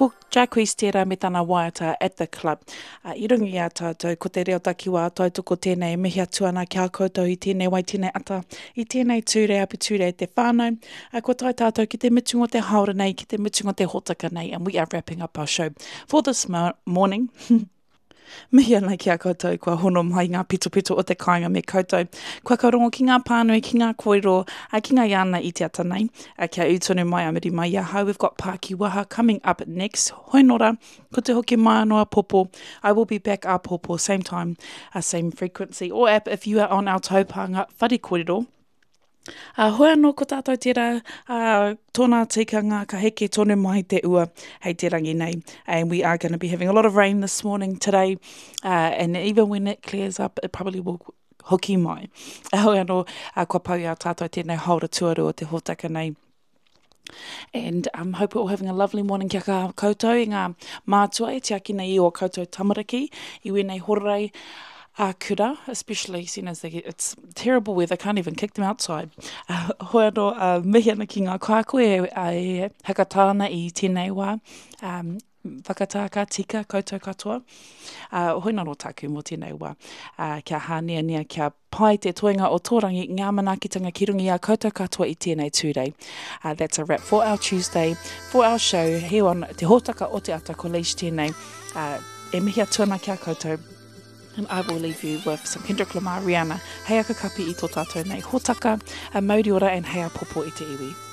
Ko Jacquees tērā me tana waiata At The Club. I runga i a tātou, ko te reo takiwā tautoko tēnei e mihi atu ana ki a koutou i tēnei wai, tēnei ata, i tēnei Tūrei Api Tūrei te whānau. Kua tae tātou ki te mutunga o te hāora nei, ki te mutunga o te hōtaka nei, and we are wrapping up our show for this morning. Mihi ana ki a koutou kua hono mai ngā pitopito o te kāinga me koutou. Kua ka rongo ki ngā pānui, ki ngā kōrero, ki ngā iana i te ata nei. Kia ū tonu mai a muri mai i ahau, we've got Pākiwaha coming up next. Hoi nora, ko te hoki mai anō āpōpō. I will be back āpōpō, same time, same frequency or app if you are on our taupānga whare kōrero. Ā, hoi anō ko tātou tērā, ā, tōna tikanga ka heke tonu mai te ua hei te rangi nei. And we are going to be having a lot of rain this morning today, uh, and even when it clears up, it probably will hoki mai. Hoi anō, uh, kua pau i a tātou tēnei haora tuarua o te hōtaka nei. And um, hope we're all having a lovely morning kia ka koutou i ngā mātua e tiaki nei i o koutou tamariki i wēnei hororei a kura, especially seeing as they get, it's terrible weather, can't even kick them outside. Uh, hoi anō, uh, mihi ana ki ngā kaiako e, e hakatā ana i tēnei wā. Um, whakatā ka tika koutou katoa. Uh, hoi nā rō tāku mō tēnei wā. Uh, kia hāneanea, kia pai te toenga o tō rangi, ngā manaakitanga ki runga i a koutou katoa i tēnei Tūrei. Uh, that's a wrap for our Tuesday, for our show, here on Te Hōtaka o Te Ata ko Leish tēnei. Uh, e mihi atu ana ki a koutou. And I will leave you with some Kendrick Lamar, Rihanna, hei aka kapi i tō tātou nei hōtaka, a mauri ora and hei apopo i te iwi.